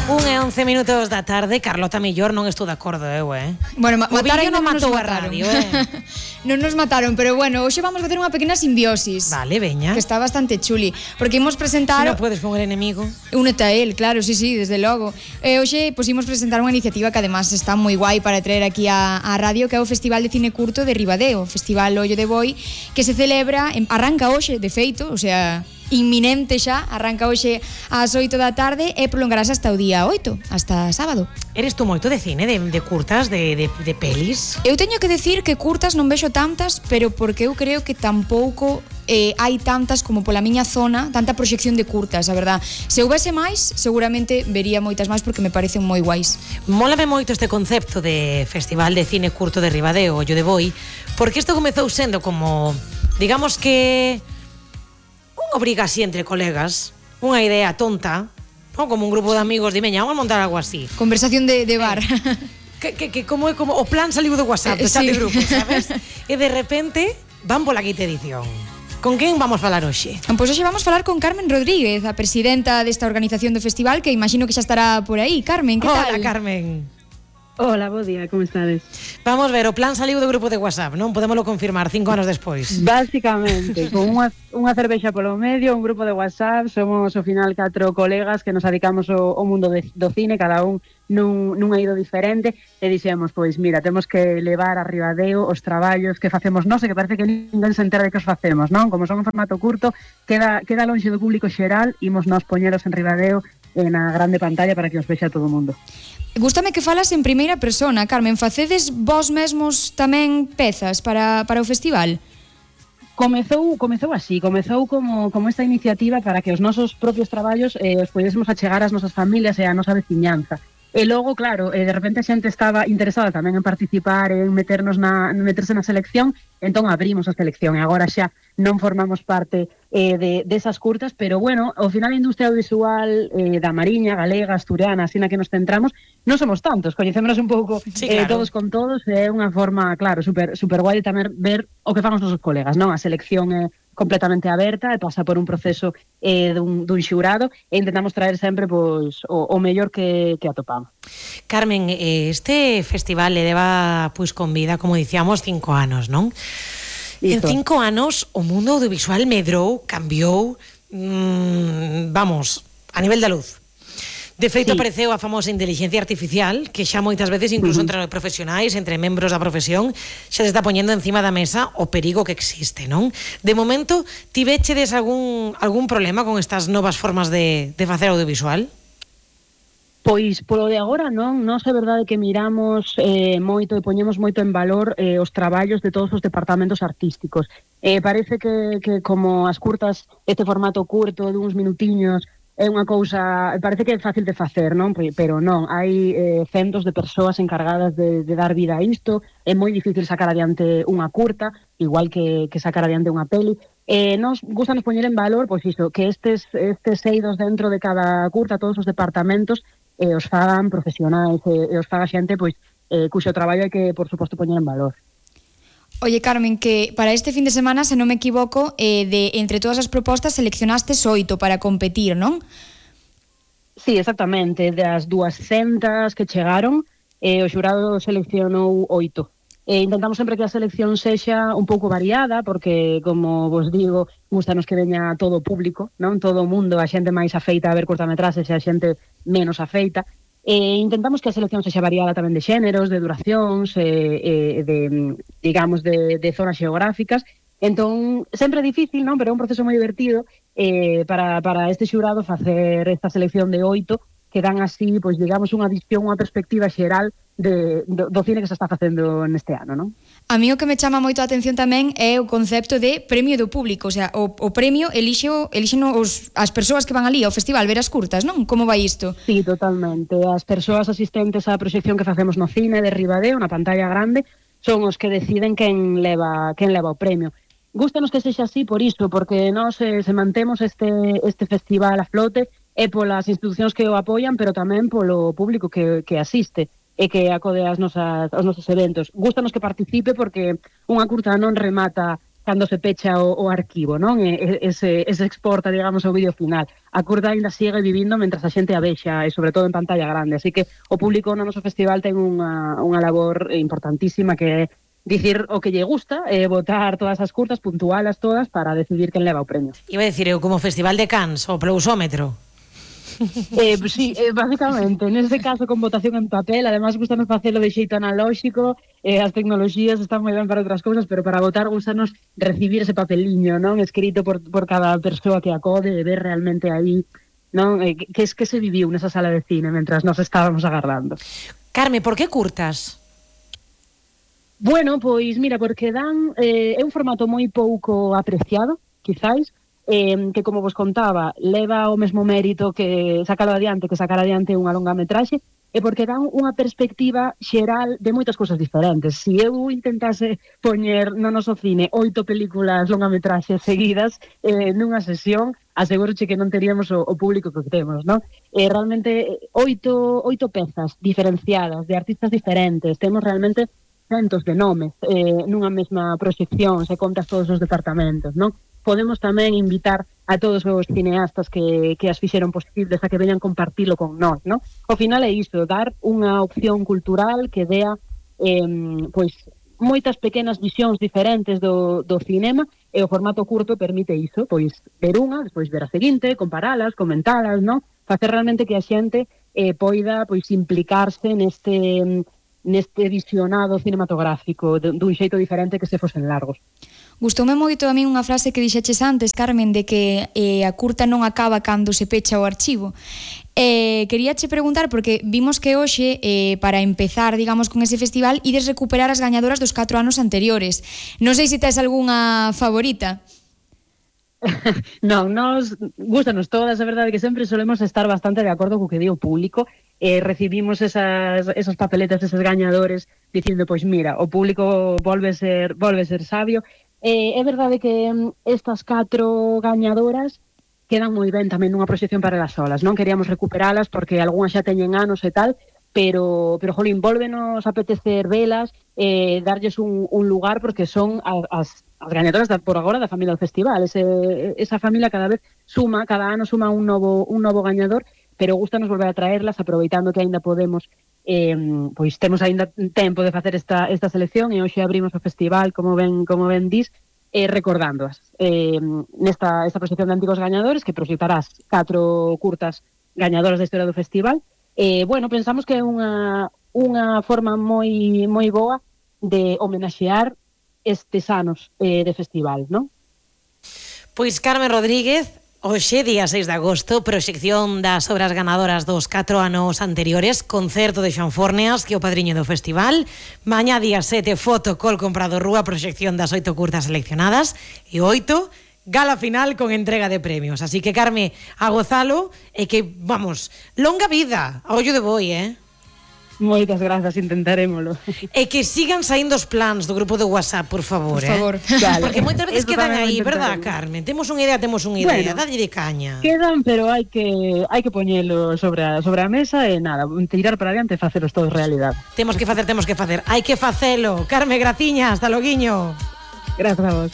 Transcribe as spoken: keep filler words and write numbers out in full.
Un e once minutos da tarde. Carlota Millor, non estou de acordo, eu, eh? Bueno, ma- o mataron vídeo non non nos matou a mataron. radio, eh? Non nos mataron, pero bueno, hoxe vamos facer unha pequena simbiosis. Vale, veña. Que está bastante chuli, porque imos presentar Si non podes con el enemigo. Únete a él, claro, sí, sí, desde logo. E hoxe pues, imos presentar unha iniciativa que además está moi guai para traer aquí a, a radio, que é o Festival de Cine Curto de Ribadeo, o Festival Ollo de Boi, que se celebra, en, arranca hoxe, de feito, o sea, inminente xa, arranca hoxe ás oito da tarde e prolongarás hasta o día oito, hasta sábado. Eres tú moito de cine, de, de curtas, de, de, de pelis? Eu teño que decir que curtas non vexo tantas, pero porque eu creo que tampouco eh, hai tantas como pola miña zona, tanta proxección de curtas, a verdad. Se houvese máis, seguramente vería moitas máis porque me parecen moi guais. Mólame moito este concepto de Festival de Cine Curto de Ribadeo, Ollo de Boi, porque isto comezou sendo como, digamos que unha obriga así entre colegas, unha idea tonta, non? Como un grupo de amigos de meña, vamos a montar algo así. Conversación de, de bar. Que, que, que como é como o plan saliu do WhatsApp, do chat Sí. de grupo, sabes? E de repente van pola quinta edición. Con quen vamos falar hoxe? Pois hoxe vamos falar con Carmen Rodríguez, a presidenta desta organización do festival, que imagino que xa estará por aí. Carmen, que Hola, tal? Carmen. Hola, bo día, como estades? Vamos ver, o plan saliu do grupo de WhatsApp, non? Podémolo confirmar cinco anos despois. Básicamente, con unha, unha cervexa polo medio, un grupo de WhatsApp, somos ao final catro colegas que nos dedicamos ao, ao mundo de, do cine, cada un nun, nun eido diferente, e dixemos, pois mira, temos que levar a Ribadeo os traballos que facemos nós, e que parece que ninguén se entera de que os facemos, non? Como son un formato curto, queda, queda lonxe do público xeral, imos nós poñeros en Ribadeo e na grande pantalla para que os vexa todo o mundo. Gústame que falas en primeira persona, Carmen. Facedes vós mesmos tamén pezas para, para o festival? Comezou, comezou así, comezou como, como esta iniciativa para que os nosos propios traballos eh, os podésemos achegar ás nosas familias e á nosa veciñanza. E logo, claro, eh, de repente a xente estaba interesada tamén en participar, en meternos na, meterse na selección, entón abrimos a selección e agora xa non formamos parte eh, de, desas curtas, pero bueno, ao final a industria audiovisual eh, da Mariña, galega, asturiana, así na que nos centramos, non somos tantos, coñecémonos un pouco Sí, eh, claro. todos con todos, é unha forma, claro, super, super guai de tamén ver o que fan os nosos colegas, non? A selección é completamente aberta e pasa por un proceso eh, dun, dun xurado e intentamos traer sempre pois, o, o mellor que, que atopamos. Carmen, eh, este festival le leva pois con vida, como dicíamos, cinco anos, non? En Iso. cinco anos o mundo audiovisual medrou, cambiou, mmm, vamos, a nivel da luz. De feito, Sí. apareceu a famosa inteligencia artificial, que xa moitas veces, incluso Uh-huh. entre profesionais, entre membros da profesión, xa se está poñendo encima da mesa o perigo que existe, non? De momento, ti vechedes algún, algún problema con estas novas formas de, de facer audiovisual? Pois polo de agora non, nós é verdade que miramos eh, moito e poñemos moito en valor eh, os traballos de todos os departamentos artísticos. Eh, parece que, que como as curtas, este formato curto de uns minutiños, é unha cousa, parece que é fácil de facer, non? Pero non, hai eh, centos de persoas encargadas de, de dar vida a isto, é moi difícil sacar adiante unha curta, igual que, que sacar adiante unha peli. Eh, nos gustanos poñer en valor, pois iso, que estes, estes eidos dentro de cada curta, todos os departamentos, e os fagan profesionais e, e os faga xente pois eh, cuxo traballo hai que, por suposto, poñer en valor. Oye, Carmen, que para este fin de semana, se non me equivoco, eh, de entre todas as propostas seleccionastes oito para competir, non? Sí, exactamente, das duascentas que chegaron, eh, o xurado seleccionou oito. E intentamos sempre que a selección sexa un pouco variada, porque, como vos digo, gustanos que veña todo o público, non? Todo o mundo, a xente máis afeita a ver curtametraxes e a xente menos afeita. E intentamos que a selección sexa variada tamén de xéneros, de duracións, e, e de, digamos, de, de zonas xeográficas. Entón, sempre é difícil, non? Pero é un proceso moi divertido eh, para, para este xurado facer esta selección de oito, que dan así, pois, digamos, unha visión, unha perspectiva xeral de, do, do cine que se está facendo neste ano, non? A mí o que me chama moito a atención tamén é o concepto de premio do público, o sea, o, o premio elixo, elixen os, as persoas que van ali ao festival ver as curtas, non? Como vai isto? Sí, totalmente. As persoas asistentes á proxección que facemos no cine de Ribadeo, na pantalla grande, son os que deciden quen leva, quen leva o premio. Gústanos que sexa así por iso, porque nós eh, se mantemos este, este festival a flote e polas institucións que o apoian, pero tamén polo público que, que asiste e que acode ás nosas, aos nosos eventos. Gústanos que participe porque unha curta non remata cando se pecha o, o arquivo, non? E, e, se, e se exporta, digamos, o vídeo final. A curta ainda sigue vivindo mentras a xente a vexa, e sobre todo en pantalla grande. Así que o público no noso festival ten unha, unha labor importantísima, que é dicir o que lle gusta, e votar todas as curtas, puntualas todas, para decidir quen leva o premio. Iba a decir, eu como Festival de Cannes, o Plousómetro. Eh, sí, eh, básicamente, neste caso con votación en papel, además gustanos facelo de xeito analóxico, eh, as tecnoloxías están moi ben para outras cousas, pero para votar gustanos recibir ese papeliño, non, escrito por, por cada persoa que acode, e ver realmente aí, non, eh, que es que se viviu nesa sala de cine mentras nos estábamos agardando. Carme, por que curtas? Bueno, pois mira, porque dan eh, é un formato moi pouco apreciado, quizáis, eh, que como vos contaba, leva o mesmo mérito que sacalo adiante, que sacar adiante unha longa metraxe, e porque dan unha perspectiva xeral de moitas cousas diferentes. Se eu intentase poñer no noso cine oito películas longametraxes seguidas eh, nunha sesión, asegúroche que non teríamos o, o público que temos, non? Eh, realmente, oito, oito pezas diferenciadas, de artistas diferentes, temos realmente centos de nomes eh, nunha mesma proxección, se contas todos os departamentos, non? Podemos tamén invitar a todos os cineastas que, que as fixeron posibles a que veñan compartilo con nós, non? Ao final é isto, dar unha opción cultural que dea eh, pois moitas pequenas visións diferentes do, do cinema, e o formato curto permite iso, pois ver unha, despois ver a seguinte, comparalas, comentalas, non? Facer realmente que a xente eh, poida pois implicarse neste neste visionado cinematográfico dun xeito diferente que se fosen largos. Gustoume moito a min unha frase que dixeches antes, Carmen, de que eh, a curta non acaba cando se pecha o archivo. Eh, queríache preguntar, porque vimos que hoxe, eh, para empezar, digamos, con ese festival, ides recuperar as gañadoras dos catro anos anteriores. Non sei se tes algunha favorita. Non, nos gustanos todas, a verdade que sempre solemos estar bastante de acordo co que di o público, eh, recibimos esas, esos papeletas, esos gañadores, dicindo, pois mira, o público volve ser, volve ser sabio. Eh, é verdade que estas catro gañadoras quedan moi ben tamén nunha proxección para elas solas, non queríamos recuperalas porque algunhas xa teñen anos e tal, pero, pero jolín, volvenos apetecer velas, eh, darlles un, un lugar, porque son as, as gañadoras da, por agora da familia do festival. Ese, esa familia cada vez suma, cada ano suma un novo, un novo gañador, pero gustanos volver a traerlas, aproveitando que aínda podemos, eh, pois temos aínda tempo de facer esta, esta selección, e hoxe abrimos o festival, como ben, como ben dis, eh, recordándoas. Eh, nesta esta proxección de antigos gañadores, que proxectarás catro curtas gañadoras da historia do festival, eh, bueno, pensamos que é unha, unha forma moi, moi boa de homenaxear estes anos eh, de festival, non? Pois Carmen Rodríguez, hoxe, día seis de agosto, proxección das obras ganadoras dos catro anos anteriores, concerto de Xoan Forneas, que é o padriño do festival. Mañá, día sete, foto col comprado rúa, proxección das oito curtas seleccionadas, e oito, gala final con entrega de premios. Así que, Carme, a gozalo, e que, vamos, longa vida, a ollo de boi, eh? Moitas grazas, intentarémolo. E que sigan saindo os plans do grupo de WhatsApp, por favor, Por favor. eh? Vale. Porque moitas veces Eso quedan tamén aí, lo verdad, intentaremos. Carmen? Temos unha idea, temos unha idea, Bueno, dadlle de caña. Quedan, pero hai que hai que poñelo sobre a, sobre a mesa, e nada, tirar para adiante e facelos todos realidade. Temos que facer, temos que facer. Hai que facelo. Carme, graciña, hasta loguiño. Grazas a vos.